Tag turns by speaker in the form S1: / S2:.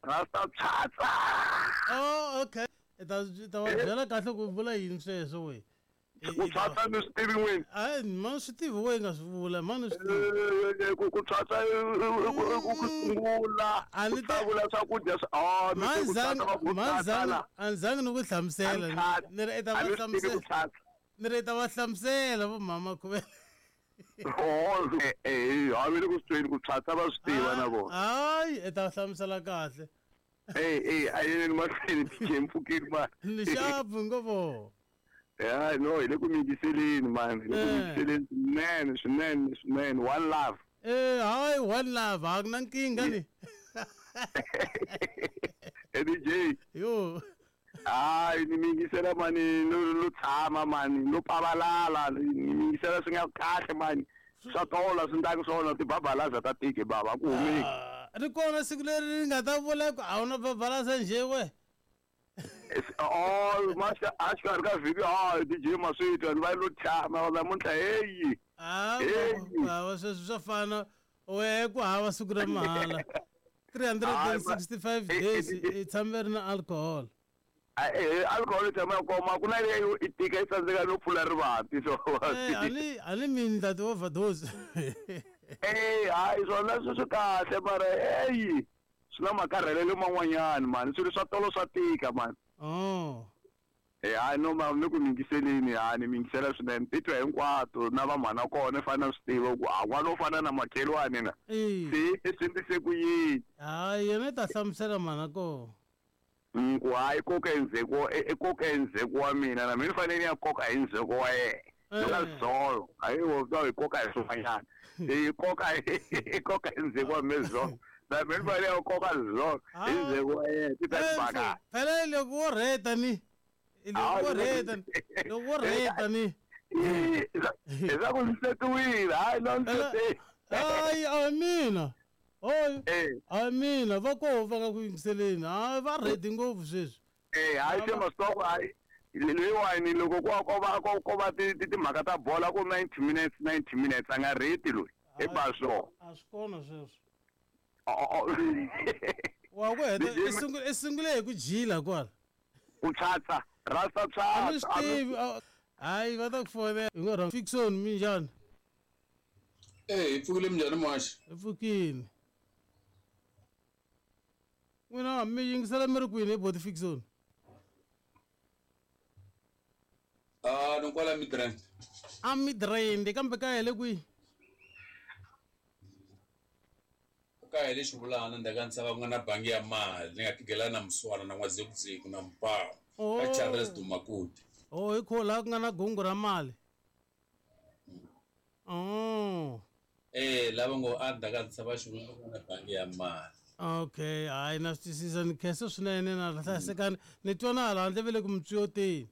S1: Rasta pshatsa.
S2: Oh, okay. I ta i ta va byela kahle ku vula yini sweswo we.
S1: Ku tshwatsa ni swi tivi n'wini.
S2: Hayi mani swi tivi we nga swi vula mani swi tivi.
S1: Eh, ku tshwatsa i ku sungula
S2: A
S1: ku
S2: ni te-
S1: hlawula swakudya swa oh ni te ku tshwatsa va ku tshwatsa la.
S2: A ni zangi ni ku hlamusela ni ri i ta
S1: A
S2: va
S1: ni swi tivi ku
S2: hlamusela
S1: tshwatsa.
S2: ni ri i ta va hlamusela vo mhama khuvela.
S1: Oh, eh, a mi le ku swi tweni ku tshwatsa va swi tiva na vona.
S2: Hayi i ta va hlamusela kahle.
S1: Eh, eh, a yeni mahlweni DJ mpfukeni man.
S2: Ni xapu ngopfu.
S1: Yeah, no, hi le ku mingiseleni man, hi le ku
S2: Eh.
S1: mingiseleni swinene, swinene, swinene. One love.
S2: Eh, hayi one love a ku na nkingha ni.
S1: Eh, DJ.
S2: Yo.
S1: Hayi ni mingisela mani no no tshama mani no pavalala ni mingisela swi nga kahle mani swa tola swi ndlaka swona tibabalaza ta tiki baba ku humeki
S2: Ri kona siku leri ri nga ta vula ku a wu na babalaza njhe we.
S1: Oh ma a xikarhi ka vhiki ah DJ Maswitwa ni va lo tshama namuntlha heyi
S2: Ah,
S1: Hey.
S2: hava sweswo swa fana wehe ku hava siku ra mahala. 365 days i tshame ri na alcohol.
S1: Eh, alcohol yi tshama yi koma ku na leyi i tika yi tsandzeka no pfula rivanti so
S2: Eh, a ni a ni mini ta ti-overdose.
S1: Eh, hayi swona swi swi kahle mara eyi swi na makarhelelo man'wanyani mani swilo swa tolo swa tika mani
S2: Oh.
S1: Eh, hayi no ma ni ku mingiseleni ha ni mingisela swinene titwa hinkwato na vamhana kona i fanele swi tiva ku a n'wana wo fana na makhelwani na
S2: Eh.
S1: se swi ndlise ku yini
S2: Hayi yena i ta hlamusela mhana kona.
S1: Ku hayi koka hi ndzheko i koka hi ndzheko wa mina na mina ni fanele ni ya koka hi ndzheko wa yena
S2: Eh.
S1: na zolo hayi wo ta hi koka hi swin'wanyana hi koka hi koka hi ndzheko wa mina zolo na mina ni fanele ya koka zolo hi ndzheko wa yena ti ta
S2: Eh,
S1: tibaka
S2: Phela loko wo rheta ni. Loko wo rheta ni. Loko wo rheta ni.
S1: hi swa ku ndzi setiwile hayi no ndzi sete
S2: Hayi a hi mina. Hoyi. A hi mina va koho va nga ku yingiseleni. Hayi va ready ngopfu sweswi.
S1: Eh, hayi se masoko hayi leyiwani loko ko ko va ko ko va ti ti- timhaka ta bola ku 90 minutes 90 minutes a nga rheti loyi i ba swona
S2: A swi kona sweswo.
S1: Oh, oh.
S2: Wa ku heta i sungule i sungule hi ku jila kwala.
S1: Ku tshwatsa rasta
S2: A ni swi
S1: tshwatsa
S2: tivi. Hayi va ta ku fonela. Hi ngo rhanga Fickson minjhani?
S3: Eh, hi pfukile minjhani muhaxi?
S2: Hi pfukile. N'wina mi yingisela mi ri kwini hi boti Fickson?
S3: Ah, ni kwala Midrand.
S2: A Midrand kambe kaya hi le kwihi?
S3: Kaya hi le Xivulana ndzhaku ka ntshava ku nga na bangi ya mali ni nga tigela na Muswana na N'wazekuzeku na Mpawu
S2: Oh.
S3: ka Charles Dumakude.
S2: Oh, hi kho laha ku nga na gungu ra mali. Oh.
S3: Eh, lava ngo a ndzhaku ka ntshava Xivulana ku nga na bangi ya mali.
S2: Okay, hayi na swi twisisa ni khensa swinene na hlayisekani ni twa na hala handle ve le ku mitswiyoteni.